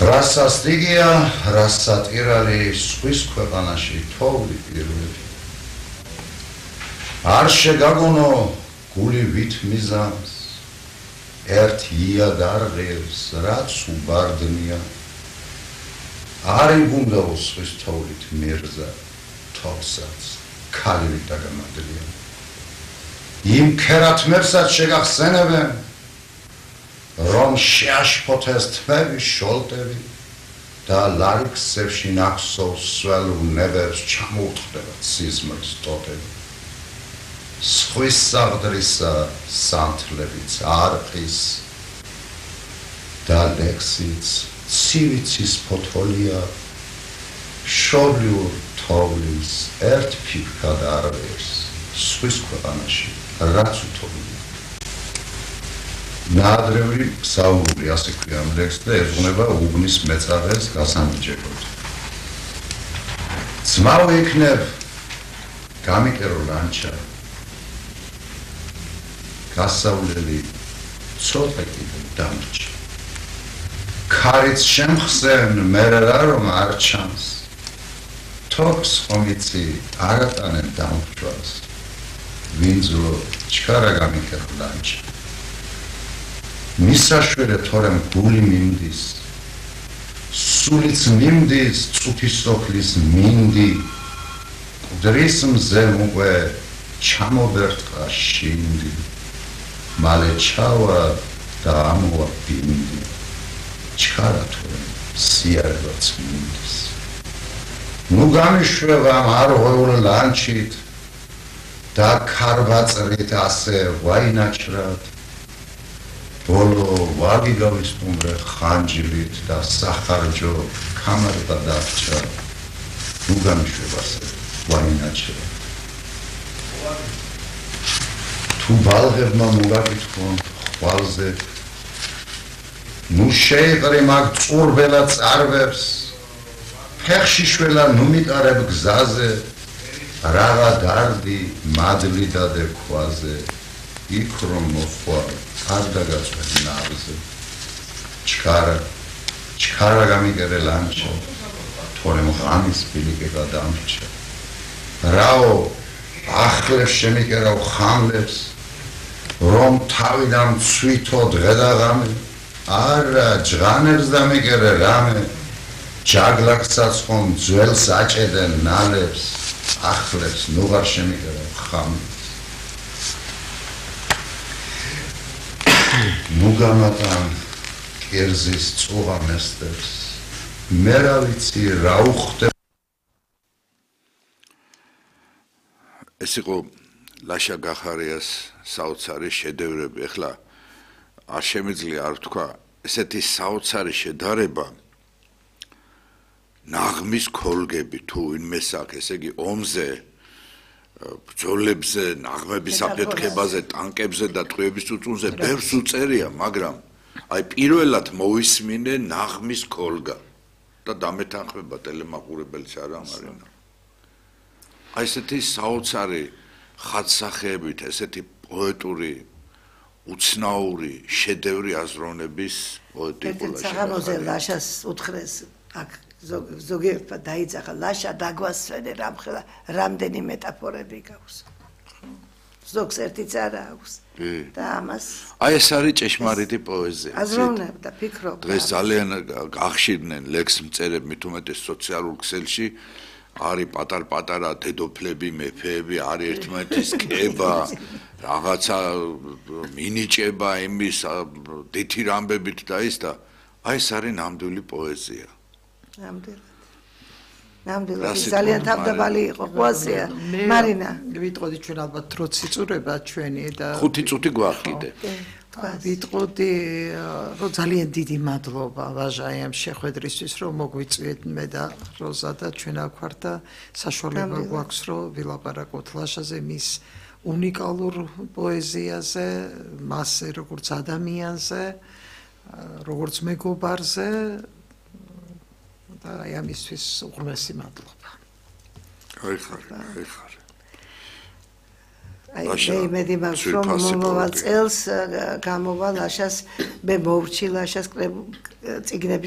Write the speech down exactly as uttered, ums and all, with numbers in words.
რასაც დიგია, რასაც ირალი სხვის ქვეყანაში თოვლი პირველი. არ შეგაგონო გული ვით მიზანს, ერთ იად არ ღირს, რაც უბარდნია. არ იგუნდაო სხვის თოვლით მერზა, თოვსაც ქალივით დაგამადლია. იმ ქერათმებსაც შეგახსენებენ, რომ შეაშფოთეს თმები შოლტები და ლარიქსებში ნახსოვს სველურ ნებებს ჩამოუთხდება სიზმრის ტოტები. სხვის საღდრისა სანთლებიც არყის და ლექსიც ცივიცის ფოთოლია შობლიურ თოვლის ერთ ფიფქად არ ვერს სხვის ქვეყანაში რაც უთოვლია. ნაადრევი საუბრული ასე ქვია ამ ლექსს და ეძღვნება უბნის მეწარეს გასამიჯებლად. ძმაო იქნებ გამიკერო ლანჩა გასავლელი ცოტა კიდე დამრჩა. ქარიც შემხსენ მერე რა რომ არ ჩანს. თოქს ხომიცი არატანენ დამრჩვას. ვინძლო ჩქარა გამიკერო ლანჩა. მისაშვერე თორემ გული მიმდის. სულიც მიმდის წუთის სოფლის მინდი. მკვდრის მზე უკვე ჩამობერტყა შინდი. მალე ჩავა და ამოვა ბინდი. ჩქარა თორემ სიარებაც მინდის. ნუ გამიშვება ამ არღვეულ ლანჩით და ქარბაწრით ასე ვაინაჭრად. ბოლო ვაგი გავისტუმრე ხანჯლით და სახარჯო კამარდა დარჩა. ნუ გამიშვება ასე ვაინაჭრად. თუ ბალღებმა მოგაკითხონ ხვალზე ნუ შეიყრი მაგ წურბელა წარვებს ფეხში შველა ნუ მიტარებ გზაზე რაღა დარდი მადლი დადე ქვაზე იქ რომ მოხვალ არ დაგაწვენ ნავზე ჩქარა ჩქარა გამიგერე ლანჩა თორემ ღამის ბილიკე გადამრჩა რაო ახლებს შემიკერავ ხამლებს რომ თავიდან ცვითო დღე და ღამე არა ჯღანებს დამიკერე რამე ჯაგლაკსაც ხომ ძველს აჭედენ ნალებს ახლებს ნუღარ შემიკერავ ხამლებს ნუ გამატან კერძის წუღა მესტებს მე რა ვიცი რა უხდება ეს იყო ლაშა გახარიას საოცარი შედევრები. ეხლა არ შემიძლია არ ვთქვა ესეთი საოცარი შედარება ნაღმის ქოლგები თუ ვინმეს აქვს ესე იგი ომზე ბრძოლებზე ნაღმების აფეთქებაზე ტანკებზე და ტყვიების წუწუნზე ბევრს უწერია მაგრამ აი პირველად მოვისმინე ნაღმის ქოლგა და დამეთანხმება ტელემაყურებელიც არა მარინა აი ესეთი საოცარი ხადსახეებით ესეთი პოეტური უცნაური შედევრი აზროვნების პოეტიკულა საღამოზე ლაშას უთხრეს აქ ზოგიერთმა დაიძახა ლაშა დაგვასვენე რამხელა რამდენი მეტაფორები გაქვს ზოგს ერთიც არა აქვს და ამას აი ეს არის ჭეშმარიტი პოეზია აზროვნებდა ფიქრობდა დღეს ძალიან გახშირდნენ ლექს მწერები მით უმეტეს სოციალურ ქსელში არის პატარ-პატარა დედოფლები, მეფეები, არის ერთმანეთის კება, რაღაცა მინიჭება იმის დითი რამბებით და ის და აი ეს არის ნამდვილი პოეზია. ნამდვილად. ნამდვილად ძალიან თავდაბალი იყო პოეზია. მარინა, ვიტყოდი ჩვენ ალბათ დროც იწურება ჩვენი და ხუთი წუთი გვაქვს კიდე. ვიტყოდი რომ ძალიან დიდი მადლობა ვაჟაი ამ შეხვედრისთვის რომ მოგვიწვიეთ მე და როზა და ჩვენ აქ ვართ და საშუალება გვაქვს რომ ვილაპარაკოთ ლაშაზე მის უნიკალურ პოეზიაზე მასზე როგორც ადამიანზე როგორც მეგობარზე და აი ამისთვის უღრმესი მადლობა აი ხარ აი ხარ აი მე იმედი მაქვს რომ მომავალ წელს გამოვა ლაშას მე მოვრჩი ლაშას წიგნების